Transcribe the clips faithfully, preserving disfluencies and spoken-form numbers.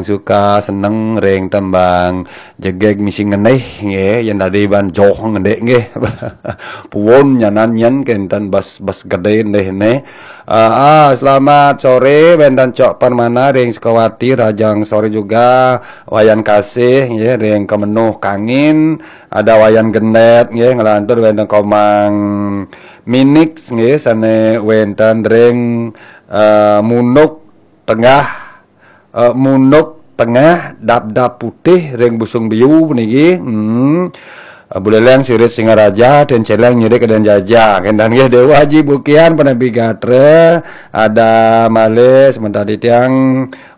suka seneng ring tembang jegeg misi ngeneh nggih, yen dadi ban joh ngendek nggih. Puun nyanan nyen kenten bas, bas gede ndeh neh. Ah, ah, selamat sore wenten Cok Permana ring Sukawati, rahajeng sore juga Wayan Kasih nggih ring Kemenuh Kangin, ada Wayan Gendet nggih, nglantur wenten Komang Minix nggih sane wenten ring eh, Munuk Tengah, eh, Munuk Tengah, Dap-dap Putih ring Busung Biu puniki. Hmm. Eh, Buleleng Sirit Singaraja, Ten Celeng Nyirik Keden Jaja. Kenten nggih Dewa Haji Bukian Penepi Gatra, ada malih semeton titiang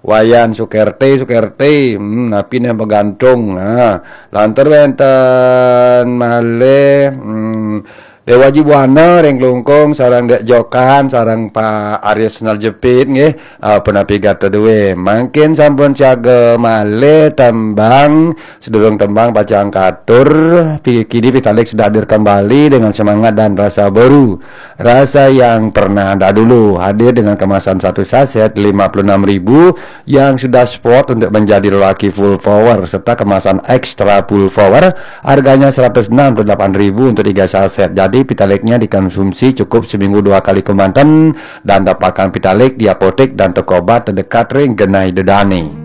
Wayan Sukerti, Sukerti. Hmm, napi ne begantung. Ha. Lantur wenten malih, hmm, Dewa Haji Buana ring Klungkung sareng Dek Jokan sareng Pak Aris Naljepit nggih, ah, punapi gatra duwe. Mangkin sampun siaga malih tembang, sedurung tembang pacang katur, pi-, kini Pitalik sudah hadir kembali dengan semangat dan rasa baru. Rasa yang pernah dahulu hadir dengan kemasan satu saset lima puluh enam ribu yang sudah spot untuk menjadi lelaki full power serta kemasan extra full power, harganya seratus enam puluh delapan ribu untuk tiga saset. Jadi Pitaliknya dikonsumsi cukup seminggu dua kali kemanten dan dapatkan Pitalik di apotek dan toko obat terdekat ring genai dedane.